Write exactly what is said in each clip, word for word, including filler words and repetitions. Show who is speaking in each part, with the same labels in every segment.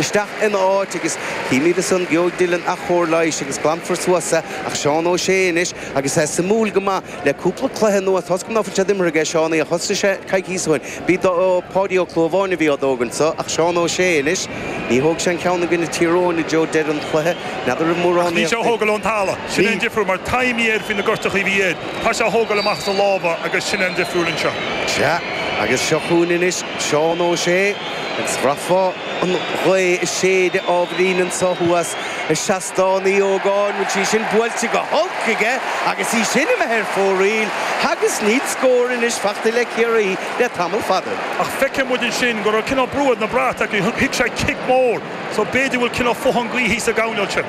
Speaker 1: isteach ina áit agus címid ansan gheobhaidh Dillon athchóir leighis agus glanfar suas é ach Seán Ó Sé anois agus é suimiúil go maith le cúpla cluiche anuas tá go bhfuil sé imeartha aige Seán a thosaigh sé coicís ó shin. Bhí Páidí Ó Clúmháin a bhí á dtógaint so ach Seán Ó Sé anois ní thóg sé an ceann againn Tír Eoghain i dtreo deireadh an chluiche n'fheadar an mórán
Speaker 2: Ní sé thógáil ón talamh sin an difriúil mar taimí air faoi na gortuithe a bhí air Tá sé thógáil amach as a lámha agus sin an difriúil anseo.
Speaker 1: Sea agus seo chugainn anois Seán Ó Sé agus bhraithfeá an ghaoth ag séideadh ábhairín anseo thuas i Seastán Uí Ógáin bhfuil sí sin buailte go holc aige agus í sin imithe ar fóraoil agus níl scór anois fachta le Ciarraí le tamall fada.
Speaker 2: Ach feiceann muid sin go raibh cineál brú na brat acu thuig sé cic mór, so b'fhéidir bhfuil cineál fothan gaoithe sa gcoirnéal sin.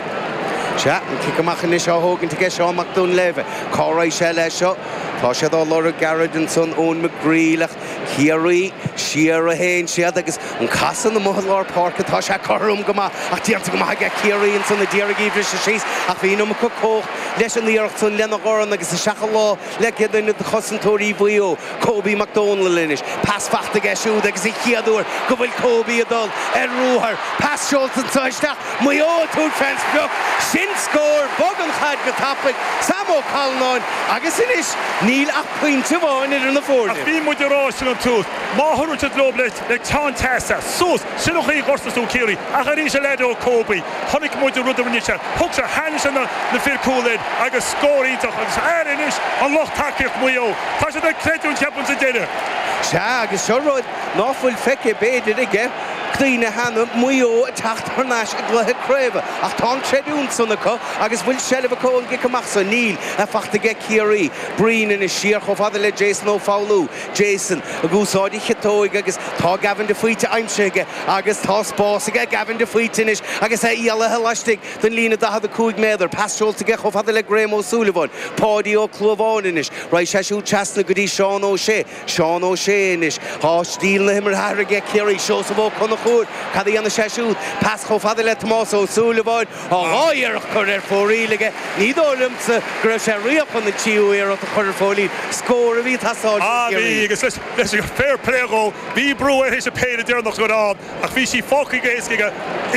Speaker 1: Sea an cic amach anois á thógaint aige Seán Mac Duinnshléibhe Cá raibh sé leis seo Tá siad á lorg gairid ansan Eoin McGreal ach Ciarraí siar a théann siad agus an casan amuigh i lár páirce tá sé cothrom go maith ach déanta go maith aige Ciarraí ansan a d'iarraidh í a bhriseadh síos ach bhí an iomarca cumhacht leis an iarracht san lena dhorn agus isteach a lámh le duine de chosantóirí Mhaigh Eo Kobe McDonald anois pas fachta aige siúd agus an chéad uair go bhfuil Kobe ag dul ar ruathar pas seolta anseo isteach Maigh Eo ag tabhairt fén sprioc sin scór bog an chaid go tapaidh Sam Ó Callanáin agus anois níl ach pointe amháin idir na foirne.
Speaker 2: Ach bhí muid ag rá sin an tús má thugann siad leo le le teann teasa suas sin an chaoi a ghortas tú Ciarraí ach arís a leid ó Kobe chonaic muid an rud a rinne sé thug sé tháinig sé na na fir cúil air agus scór iontach agus air anois an lucht tacaíocht Mhaigh Eo Tá siad ag creidiúint ceapaim sa deireadh.
Speaker 1: Sea agus seo rud ná fuil feicthe b'fhéidir aige daoine cheana Maigh Eo ag teacht thar n-ais i gcluiche craoibhe ach tá an creidiúint san acu agus bhfuil seilbh acu an gcic amach san níl a fachta aige Ciarraí Breen anois siar chomh fada le Jason Ó Foghlú Jason ag úsáid a chiotóig agus tá Gavin de Faoite aimsithe aige agus tá spás aige Gavin de Faoite anois agus é éalaithe laistigh den líne daichead a cúig méadar pas seolta aige chomh fada le Graham Ó Súilleabháin Páidí Ó Clúmháin anois raghaidh sé siúd trasna go dtí Seán Ó Sé Seán Ó Sé anois tá stíl na himeartha athraithe aige Ciarraí Seosamh Ó Conchúir cad a dhéanfaidh sé siúd pas chomh fada le Tomás Ó Súilleabháin á dhá iarracht curtha ar fóraoil aige ní dóigh liomsa go raibh sé riamh chun an tríú iarracht a chur ar fóraoil scór a bhí ag teastáil
Speaker 2: Ah
Speaker 1: ó
Speaker 2: bhí
Speaker 1: Chiarraí.
Speaker 2: agus leis leis an fair play dhó bhí brú air théis an péire deireanach go raibh ann ach bhí sí fágtha go héasca aige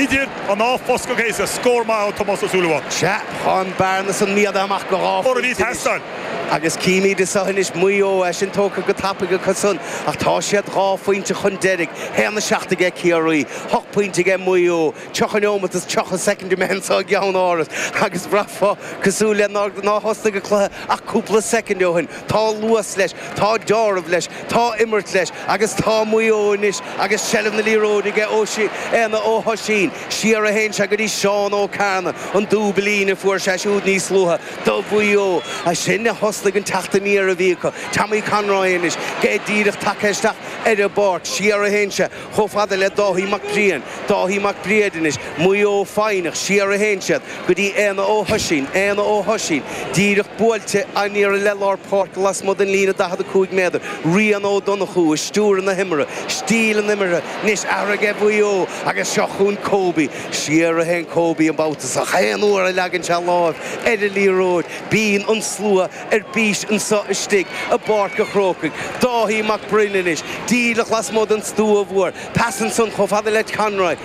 Speaker 2: idir an dá phosca go héasca scór maith ó Tomás Ó Súilleabháin.
Speaker 1: Sea tá an bearna san méadaithe amach go dhá
Speaker 2: Scór a bhí
Speaker 1: phointe anois.
Speaker 2: teastáil.
Speaker 1: Agus címid anseo anois Maigh Eo é sin tógtha go tapaidh acu san ach tá siad dhá phointe chun deiridh haon a seacht aige Ciarraí hocht pointe aige Maigh Eo tríocha nóiméad is tríocha soicind imithe anseo i gceannáras agus bhraithfeá cosúil le nár ná thosnaigh an cluiche ach cúpla soicind ó shin tá luas leis tá deáramh leis tá imirt leis agus tá Maigh Eo anois agus seilbh na liathróide aige ó si Éanna Ó hOisín siar a théann sé go dtí Seán Ó Cearna an dúbailín a fuair sé siúd níos luaithe do Mhaigh Eo a sin a thosnaigh an teacht aniar a bhí acu Tommy Conroy anois é díreach tagtha isteach ar an bpáirc siar a théann sé chomh fada le Dáithí Mac Briain Dáithí Mac Briain anois Maigh Eo foighneach siar a théann siad go dtí Éanna Ó hOisín Éanna Ó hOisín díreach buailte aniar le lár páirce lasmuigh den líne daichead a cúig méadar Rian Ó Donnchú ag stiúradh na himeartha stíl an imeartha anois athraithe aige Mhaigh Eo agus seo chugainn Kobe siar a théann Kobe an babhta seo aon uair a leagann sé lámh ar an liathróid bíonn an slua ar bís anseo istigh i bPáirc an Chrócaigh Dáithí Mac Broin anois díreach lasmuigh den stua mhór pas ansan chomh fada le Conroy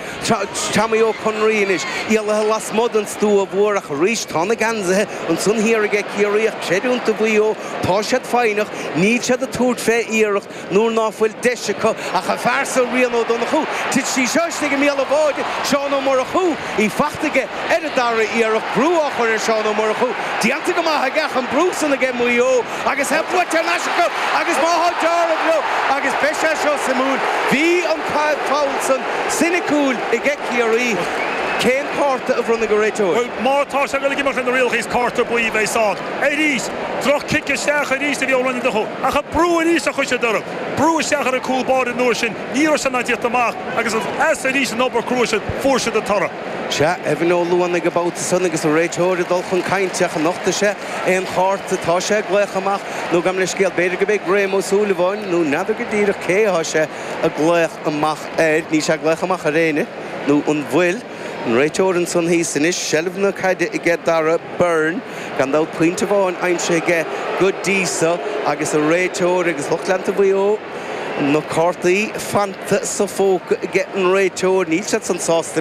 Speaker 1: Tommy Ó Conraoi anois éalaithe lasmuigh den stua mhór ach arís tá na geansaithe ansan thiar aige Ciarraí ach creidiúint do Mhaigh Eo tá siad foighneach níl siad ag tabhairt fé iarracht nuair ná fuil deis acu ach an fear seo Rian Ó Donnchú Tit sí seo istigh i mbéal an bháide Seán Ó Murchú í fachta aige ar an dara iarracht brú á chur ar Seán Ó Murchú déanta go maith aige ach an brú san aige Maigh Eo agus é buaite thar n-ais acu agus má thá deáramh leo agus beidh sé seo suimiúil bhí an foul san soiniciúil aige Ciarraí cén cárta a bhronnfaidh an réiteoir.
Speaker 2: Well má tá sé go imeacht na rialacha is cárta buí bheidh ann. Arís droch cic isteach arís a bhí ó Ronnie Donnchú ach a brú arís a chuir sé orthu. Brú isteach ar an cúl báire nuair sin ní raibh sé ná tíocht amach agus as arís an obair crua sin fuair siad an toradh.
Speaker 1: Sea Evan Ó Luanaigh an babhta san agus an réiteoir ag dul chun cainte ach an nochtfaidh sé aon chárta tá sé ag glaoch amach nó gabh mo leithscéal b'fhéidir go mbeidh Graham Ó Súilleabháin nó n'fheadar go díreach cé atá sé ag glaoch amach air ní sé glaoch amach ar éinne nó an bhfuil an réiteoir ansan thíos anois seilbh na caide aige Dara Byrne gan dabht pointe amháin aimsithe aige go dtí seo agus an réiteoir agus lucht leanta Mhaigh Eo na cártaí fanta sa phóca aige an réiteoir níl siad san sásta